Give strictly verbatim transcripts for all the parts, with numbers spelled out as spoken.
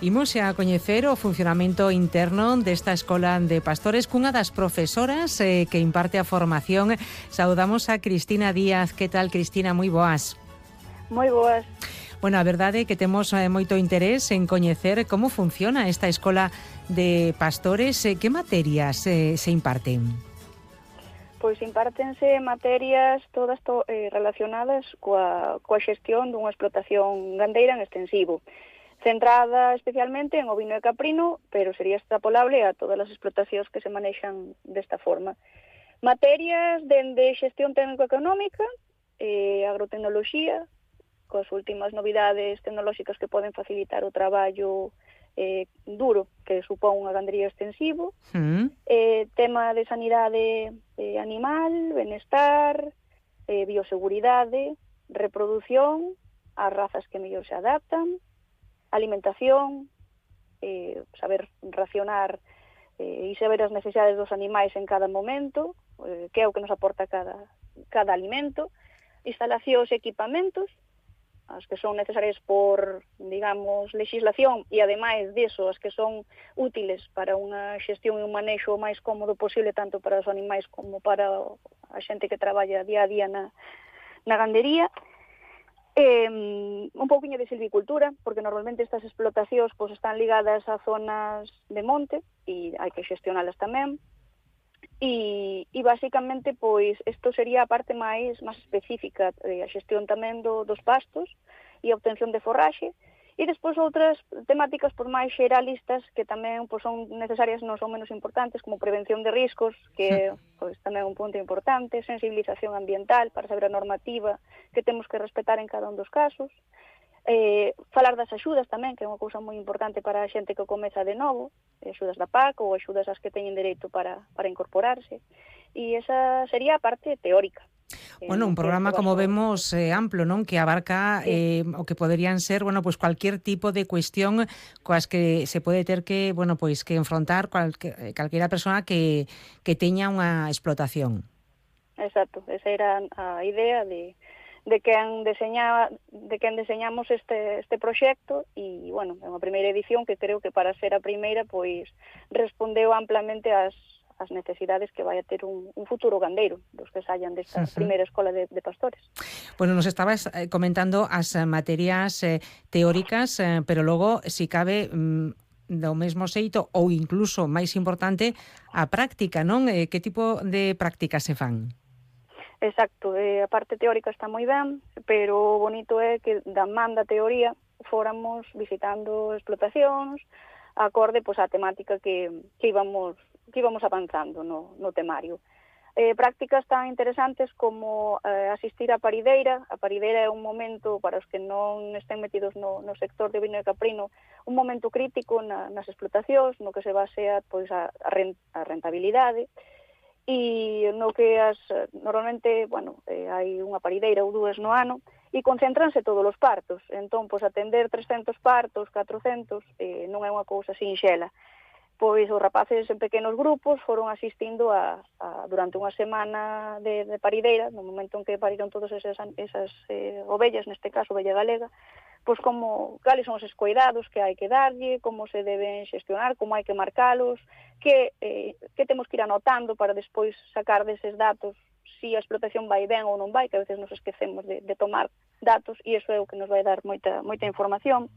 Imos a coñecer o funcionamento interno desta Escola de Pastores cunha das profesoras eh, que imparte a formación. Saudamos a Cristina Díaz. Que tal, Cristina? Moi boas. Moi boas. Bueno, a verdade é que temos eh, moito interés en coñecer como funciona esta Escola de Pastores. Eh, que materias eh, se imparten? Pois impártense materias todas to, eh, relacionadas coa, coa xestión dunha explotación gandeira en extensivo, centrada especialmente en ovino e caprino, pero sería extrapolable a todas as explotacións que se manexan desta forma. Materias dende xestión técnico-económica, eh, agrotecnoloxía, coas últimas novidades tecnolóxicas que poden facilitar o traballo eh, duro que supón unha gandería extensivo, mm. eh, tema de sanidade eh, animal, benestar, eh, bioseguridade, reproducción, as razas que mellor se adaptan, alimentación, eh, saber racionar eh, e saber as necesidades dos animais en cada momento, eh, que é o que nos aporta cada, cada alimento, instalacións e equipamentos, as que son necesarias por, digamos, legislación e, ademais disso, as que son útiles para unha xestión e un manexo o máis cómodo posible, tanto para os animais como para a xente que traballa día a día na, na gandería. Eh, un pouquiño de silvicultura, porque normalmente estas explotacións pues, están ligadas a zonas de monte e hai que xestionalas tamén. E, e basicamente, pois, isto sería a parte máis máis específica, eh, a xestión tamén do, dos pastos e a obtención de forraxe, e despois outras temáticas por máis xeralistas que tamén pois, son necesarias, non son menos importantes, como prevención de riscos, que pois, tamén é un punto importante, sensibilización ambiental para saber a normativa que temos que respetar en cada un dos casos, Eh, falar das axudas tamén, que é unha cousa moi importante para a xente que comeza de novo, axudas da P A C ou axudas as que teñen dereito para, para incorporarse, e esa sería a parte teórica. Bueno, un programa, como vemos, eh, amplo, non? Que abarca sí. eh, o que poderían ser, bueno, pues cualquier tipo de cuestión coas que se pode ter que, bueno, pues que enfrontar cualque, calquera persona que, que teña unha explotación. Exacto, esa era a idea de de quen deseña, de quen deseñamos este este proxecto e, bueno, é unha primeira edición que creo que para ser a primeira, pois, respondeu amplamente ás as necesidades que vai a ter un, un futuro gandeiro dos que saian desta uh-huh. primeira escola de, de pastores. Bueno, nos estabas eh, comentando as materias eh, teóricas, eh, pero logo, si cabe, mm, do mesmo xeito ou incluso máis importante, a práctica, non? Eh, que tipo de prácticas se fan? Exacto, eh, a parte teórica está moi ben, pero o bonito é que da man da teoría fóramos visitando explotacións acorde pois, a temática que, que, íbamos, que íbamos avanzando no, no temario. Eh, prácticas tan interesantes como eh, asistir á parideira. A parideira é un momento, para os que non estén metidos no, no sector de ovino e caprino, un momento crítico na, nas explotacións, no que se basea pois, a, a rentabilidade, e no que as normalmente, bueno, eh, hai unha parideira ou dúas no ano e concéntranse todos os partos. Entón, pois atender trescentos partos, catrocentos, eh, non é unha cousa sinxela. Pois os rapaces en pequenos grupos foron asistindo a, a durante unha semana de, de parideira, no momento en que pariron todas esas, esas eh, ovellas, neste caso, ovella galega, pois como, cales son os cuidados que hai que darlle, como se deben xestionar, como hai que marcalos, que, eh, que temos que ir anotando para despois sacar deses datos si a explotación vai ben ou non vai, que a veces nos esquecemos de, de tomar datos, e iso é o que nos vai dar moita, moita información.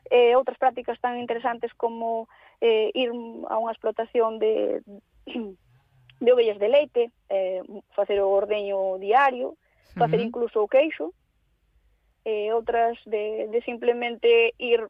Eh, outras prácticas tan interesantes como eh, ir a unha explotación de, de ovellas de leite, eh, facer o ordeño diario, facer uh-huh. incluso o queixo, eh, outras de, de simplemente ir